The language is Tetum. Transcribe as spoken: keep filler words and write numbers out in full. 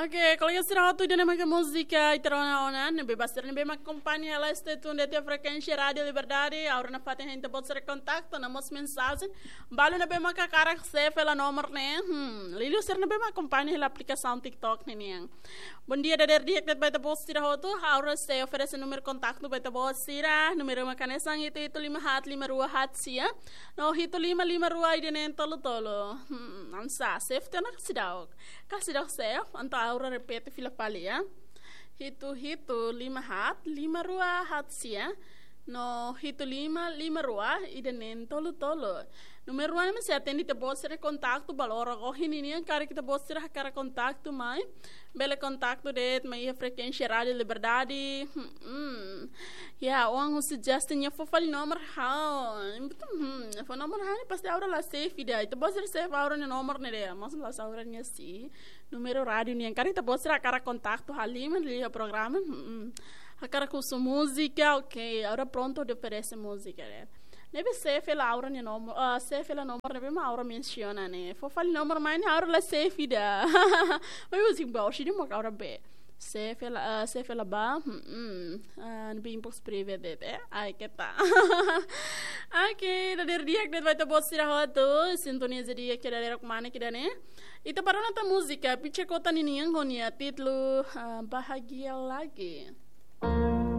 Oke, kolega sira hotu, ida-ne'e maka múzika ita rona ona, ne'ebé ba sira ne'ebé mak akompaña hela stay tune de'it iha frekuénsia Rádiu Liberdade, agora nafatin hein ita-boot sira kontaktu, no mós mensajen, balu ne'ebé mak hakarak save hela nomor ne'e, hmm, liuliu sira ne'ebé mak akompaña hela aplikasaun TikTok ne'e nian. Bondia dadeer di'ak de'it ba ita-boot sira hotu, agora sei oferese númeru kontaktu ba ita-boot sira, númeru mak hanesan hitu hitu lima haat lima rua haat sia, no hitu lima lima rua ida-ne'e tolu tolu. Hmm, hanesan save tiha ona ka seidauk? Ka seidauk save, entaun agora repete fila fali, ya. Hitu hitu lima haat lima rua haat sia, no hitu lima lima rua ida-ne'e tolu tolu. Númeru rua ne'e mak sei atende ita-boot sira kontaktu ba loron ohin ninian, karik ita-boot sira hakarak kontaktu mai, bele kontaktu de'it mai iha frekuénsia Rádiu Liberdade. Hmm, hmm. Ya, oan husu Justin nia fó fali nomor ha'u. Hmm, fó nomor ha'u ne'e pasti agora la save ida. Ita-boot sira save agora nia nomor ne'e de'it. Mas la save agora nia si. Númeru rádiu nian, karik ita-boot sira hakarak kontaktu halimar iha programa. Hmm, hmm. Hakarak husu múzika, oke. Agora prontu hodi oferese múzika, ya. Ne'ebé save hela agora nia nomor, ah, save hela nomor ne'ebé mak agora mensiona ne'e. Fó fali nomor mai ne'e agora la save ida. Mas husi ba, husi ida mak agora be. Save hela, ah, save hela ba. Hmm, hmm. Ah, ne'ebé inbox privé de'it, eh. Ai, keta. Oke, dadeer di'ak de'it ba ita-boot sira hotu. Sintoniza di'ak iha dadeer kmanek ida-ne'e. Ita ba rona tan múzika, Picha Kota ninian ho nia títulu, ah, Bahagia Lagi.